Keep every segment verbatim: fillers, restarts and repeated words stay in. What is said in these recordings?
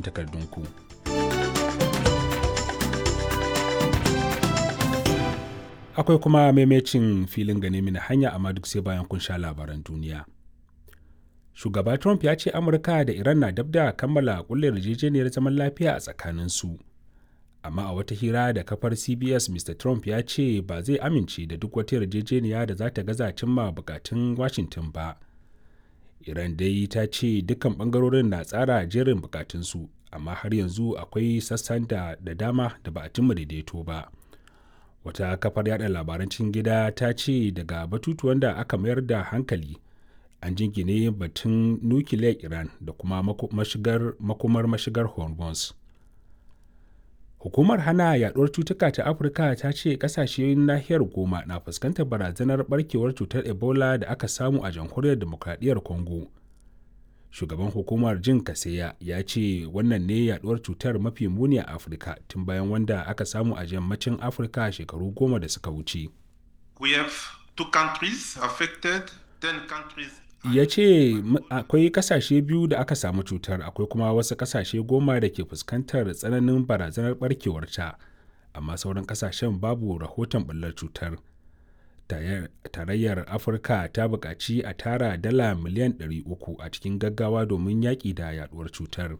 amsoshin takardunku. Akwai kuma maimacin filin gane mini hanya, amma duk sai bayan kun sha labaran duniya. Shugaba Trump ya ce Amurka da Iran na dab da kammala kulle yarjejeniyar zaman lafiya a tsakaninsu. Amma a wata hira da kafar C B S, Mister Trump ya ce ba zai amince da duk wata yarjejeniya da za ta gaza cimma bukatun Washington ba. Iran dai ta ce dukkan bangarorin na tsara jerin bukatunsu, amma har yanzu akwai sassan da, da dama da ba a cimma daidaito ba. Wata kafar yada labaran cikin gida ta ce daga batutuwan da aka mayar da hankali an jingine batun nukiliyar Iran da kuma mashigar, makomar mashigar Hormuz. Hukumar hana yaduwar cutuka ta Afirka ta ce kasashen nahiyar goma na fuskantar barazanar barkewar cutar Ebola da aka samu a Jamhuriyar Demokradiyyar Congo. Shugaban hukumar Jin Kaseya ya ce wannan ne yaduwar cutar mafi muni a Afirka tun bayan wanda aka samu a yammacin Afirka shekaru goma da suka wuce. We have two countries affected, ten countries. Ya ce akwai kasashe biyu da aka samu cutar, akwai kuma wasu kasashe goma da ke fuskantar tsananin barazanar barkewar ta, amma sauran kasashen babu rahoton bullar cutar. Tarayyar Afirka ta buƙaci a tara dala miliyan ɗari uku a cikin gaggawa domin yaƙi da yaduwar cutar.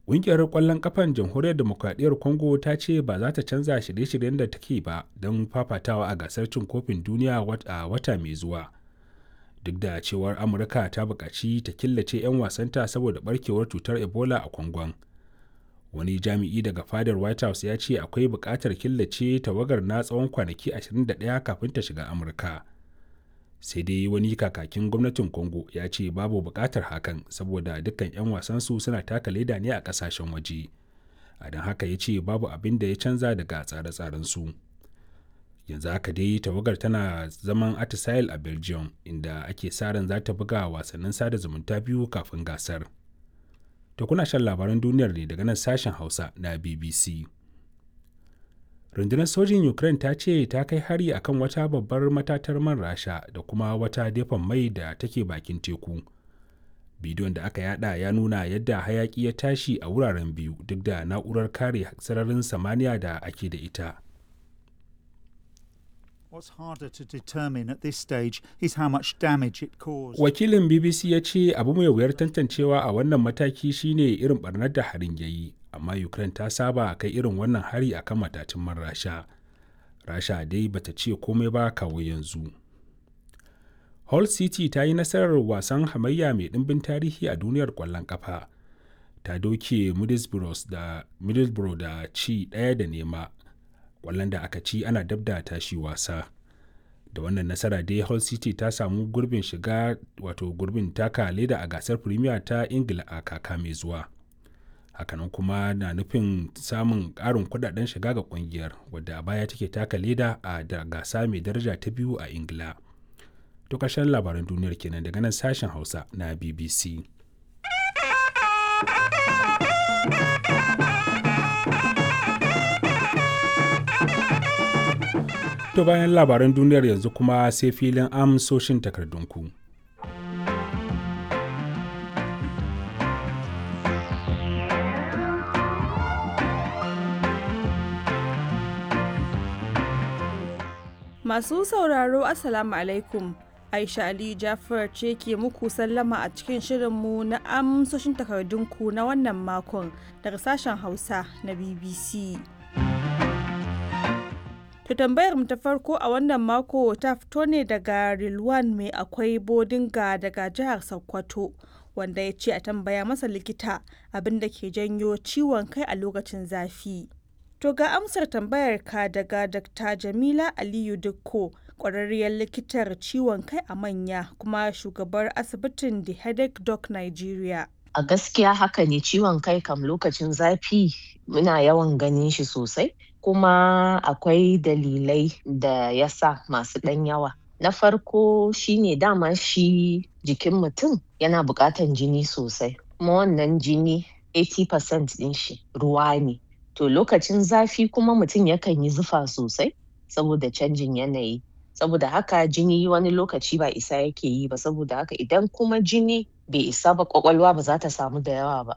Ƙungiyar ƙwallon ƙafan Jamhuriyar Demokradiyyar Congo ta ce ba za ta canza shirye-shiryen da take ba don fafatawa a gasar cin kofin duniya a wata mai zuwa, duk da cewar Amurka ta buƙaci ta killace 'yan wasanta saboda barkewar cutar Ebola a Kwangon. Wani jami'i daga fadar White House ya ce akwai buƙatar killace tawagar na tsawon kwanaki ashirin da ɗaya kafin ta shiga Amurka. Sai dai wani kakakin gwamnatin Congo ya ce babu buƙatar hakan saboda dukkan 'yan wasansu suna taka leda ne a ƙasashen waje, a don haka ya ce babu abin da ya canza daga tsare-tsarensu su. Yanzu haka dai tawagar tana zaman atisaye a Belgium, inda ake sa ran za ta buga wasannin sada zumunta biyu kafin gasar. To, kuna shan labaran duniyar ne daga nan sashen Hausa na B B C. Rundunar sojin Ukraine ta ce ta kai hari akan wata babbar matatar man Rasha da kuma wata dafan mai da take bakin teku. Bidiyon da aka yada ya nuna yadda hayaki ya tashi a wuraren biyu duk da na'urar kare sararin samaniya da ake da ita. Wakilin B B C ya ce abu mai wuyar tantancewa a wannan mataki shine irin barnar da harin ya yi, amma Ukraine ta saba kai irin wannan hari akan matatun man Rasha. Rasha dai bata ce komai ba kawo yanzu. Hull City ta yi nasarar wasan hamayya mai ɗimbin tarihi a duniyar ƙwallon ƙafa. Ta doke Middlesbrough da ci ɗaya da nema, kwallon da aka ci ana dab da tashi wasa. Da wannan nasara dai Hull City ta samu gurbin shiga, wato gurbin taka leda a gasar Premier ta Ingila a kaka mai zuwa. Hakanan kuma na nufin samun karin kudaden shiga ga kungiyar, wadda a baya take taka leda a da gasa mai daraja ta biyu a Ingila. To, karshen labaran duniyar kenan daga nan sashen Hausa na B B C. To, bayan labaran duniyar yanzu kuma sai filin amsoshin takardunku. Masu sauraro, Assalamu alaikum. Aisha Aliyu Jafar ce ke muku sallama a cikin shirinmu na amsoshin takardunku na wannan makon daga sashen Hausa na B B C. To, tambayar mu ta farko a wannan mako ta fito ne daga Rilwan Mai Akwai Bodinga daga jihar Sokoto, wanda ya ce a tambaya masa likita abin da ke janyo ciwon kai a lokacin zafi. To, ga amsar tambayar ka daga Doctor Jamila Aliyu Dikko, ƙwararriyar likitar ciwon kai a manya kuma shugabar asibitin The Headache Doc Nigeria. A gaskiya haka ne, ciwon kai kam lokacin zafi muna yawan ganin shi sosai, kuma akwai dalilai da ya sa masu ɗan yawa. Na farko shine dama shi jikin mutum yana buƙatan jini sosai, kuma wannan jini kashi tamanin cikin ɗari ɗin shi ruwa ne. To, lokacin zafi kuma mutum yakan yi zufa sosai saboda canjin yanayi. Saboda haka jini wani lokaci ba isa yake yi ba, saboda haka idan kuma jini bai isa ba, ƙwaƙwalwa ba za ta samu da yawa ba.